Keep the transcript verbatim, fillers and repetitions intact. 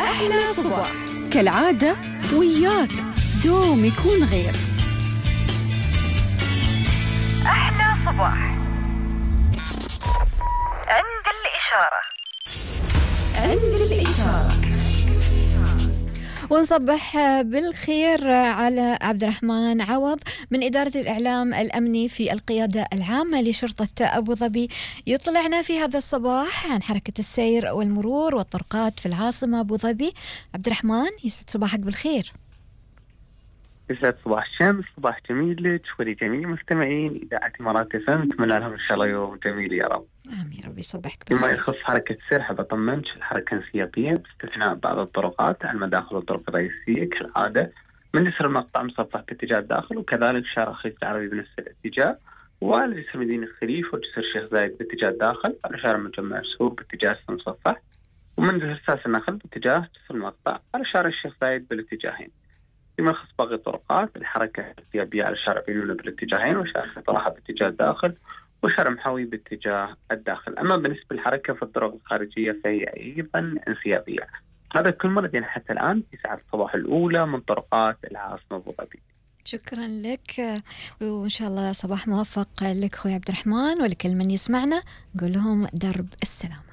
أحلى صباح كالعادة وياك دوم يكون غير. أحلى صباح عند الإشارة. عند الإشارة. ونصبح بالخير على عبد الرحمن عوض من إدارة الإعلام الأمني في القيادة العامة لشرطة أبو ظبي، يطلعنا في هذا الصباح عن حركة السير والمرور والطرقات في العاصمة أبو ظبي. عبد الرحمن، يسعد صباحك بالخير. يسعد صباح الشمس، صباح جميل لك ولجميع مستمعين إذاعة إمارات إف إم. أتمنى لهم إن شاء الله يوم جميل يا رب. آمين، ربي يصبحك فيما بالخير. يخص حركة السير حاب أطمنك الحركة انسيابية باستثناء بعض الطرقات على المداخل والطرق الرئيسية كالعادة، من جسر المقطع مصفح باتجاه الداخل، وكذلك شارع خليج العربي بنفس الاتجاه، وعلى جسر مدينة الخليفة وجسر الشيخ زايد باتجاه الداخل، على شارع مجمع السوق باتجاه المصفح، ومن جسر ساس النخل باتجاه جسر المقطع على شارع الشيخ زايد بالاتجاهين. فيما يخص باقي الطرقات الحركة انسيابية على شارع بينونة بالاتجاهين، وشارع طرحة باتجاه الداخل، وشارع محاوي باتجاه الداخل. أما بالنسبة للحركة في الطرق الخارجية فهي أيضا انسيابية. هذا كل مرة يعني حتى الآن في ساعة الصباح الأولى من طرقات العاصمة أبو ظبي. شكرا لك، وإن شاء الله صباح موفق لك أخوي عبد الرحمن، ولكل من يسمعنا نقول لهم درب السلام.